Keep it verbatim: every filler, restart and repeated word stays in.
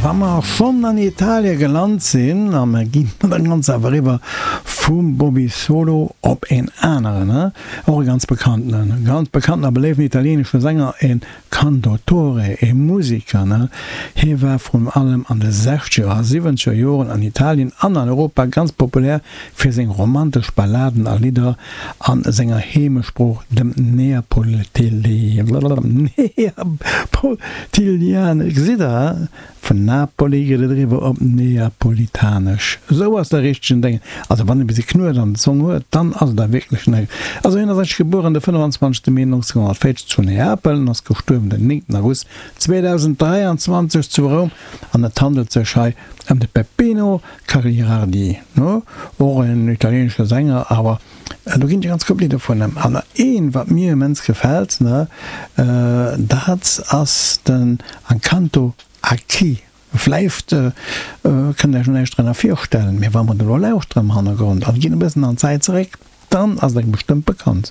Wa mer schonn an Italie gelant sinn, a mer ginn da ganz awer eriwwer vum Bobby Solo op een aneren, och e ganz bekannten, ganz bekannten a beléiften italienesche Sänger, e Cantautore, e Musiker. Hie war vrun allem an de sechzeger a siwwenzeger Joren an Italien an an Europa ganz populär fir seng romantesch Balladen a Lidder a senger Heemesprooch, dem Neapolitilianesch. Gesitt Der, vun Napoli geet et eriwwer op Neapolitanesch. Esou ass de richtegen Déngen. Also wann e bis e Knuet an der Zong huet, dann ass et da wierklech näischt. Also hien ass eigentlech gebueren de fënnefenzwanzegste Mee nonzénhonnertvéierzeg zu Neapel an ass gestuerwen den néngten August zweedausenddräianzwanzeg zu Roum. An et handelt sech hei ëm de Peppino Cagliardi, och en italienesche Sänger, awer do ginn et e ganz Koup Lidder vun em. An een, wat mir immens gefält, dat ass den Accanto a chi. Vläicht kënnt der iech nach näischt drënner virstellen, mee wa mer et elo lauschteren am Hannergrond an ginn e bëssen an d'Zäit zeréck, dann ass et engem bestëmmt bekannt.